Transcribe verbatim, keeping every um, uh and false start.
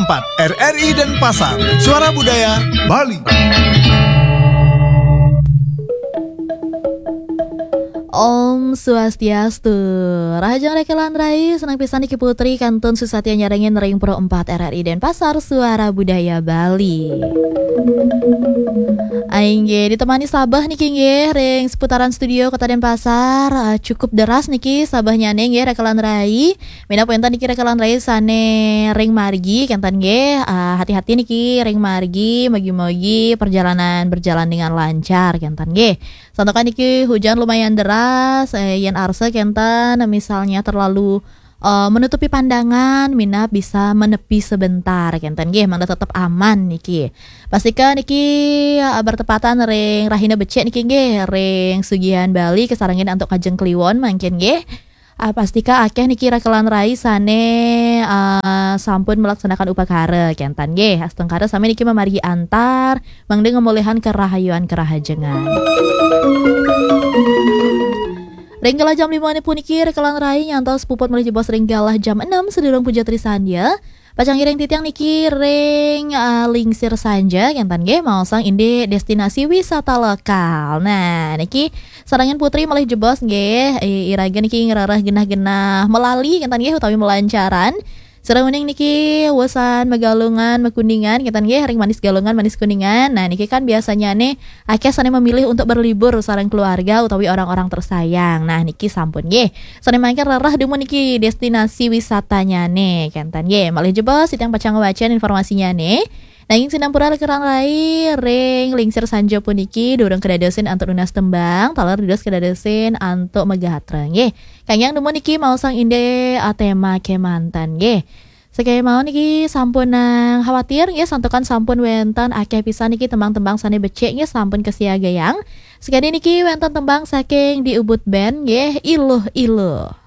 empat R R I Denpasar, Suara Budaya Bali. Om Swastiastu. Rahajeng rekelan rai, senang pisan niki Putri kantun susatia nyarengin ring Pro empat R R I Denpasar, Suara Budaya Bali. Inggih, ditemani sabeh niki nggih ring seputaran studio Kota Denpasar. Ah, cukup deras niki sabehnyane nggih rekelan rai. Minab wenten niki rekelan rai sane ring margi kenten nggih. Ah, hati-hati niki ring margi, mogi-mogi perjalanan berjalan dengan lancar kenten nggih. Santukan niki hujan lumayan deras, eh, yen arsa kenten misalnya terlalu eh, menutupi pandangan, minab bisa menepi sebentar kenten nggih, mangda tetep aman niki. Pastika niki eh, bertepatan ring rahina becik niki nggih, ring sugihan Bali kasarengin antuk kajeng kliwon mangkin nggih. Ah, pastika akeh niki rekelan rai sane ah, sampun melaksanakan upakara kenten nggih. Astungkara sami niki mamargi antar mangda ngemulihan kerahayuan kerahajengan. Ring galah jam lima puniki rekelan rai nyantos puput malih jebos ring galah jam enam sedurung puja trisandya. Pacang ngiring titiang niki ring ah, lingsir sanja kenten nggih, maosang indik destinasi wisata lokal. Nah, niki sarengin Putri malih jebos nggih, i- iraga niki ngrereh genah-genah melali kenten nggih utawi melancaran. Sareng uning niki wesan Megalungan, Mekuningan kenten nggih, ring Manis Galungan, Manis Kuningan. Nah, niki kan biasanya nih akeh sane memilih untuk berlibur sareng keluarga utawi orang-orang tersayang. Nah, niki sampun nggih. Sane mangkin rereh dumun niki destinasi wisatanya nih kenten nggih. Malih jebos titiang pacang ngwacen informasinya nih. Nanging sinampura rekelan rai ring lingsir sanja puniki durung kedadosin antuk nunas tembang, taler dados kedadosin antuk megatra nggih. Kanggiang dumun niki maosang indik ah, tema kemanten nggih. Sekaya mau niki sampun nang khawatir nggih, santukan sampun wenten akeh pisan niki tembang-tembang sane becik nggih sampun kasiagayang. Sekadi niki wenten tembang saking di Ubud Band nggih, Iluh-iluh.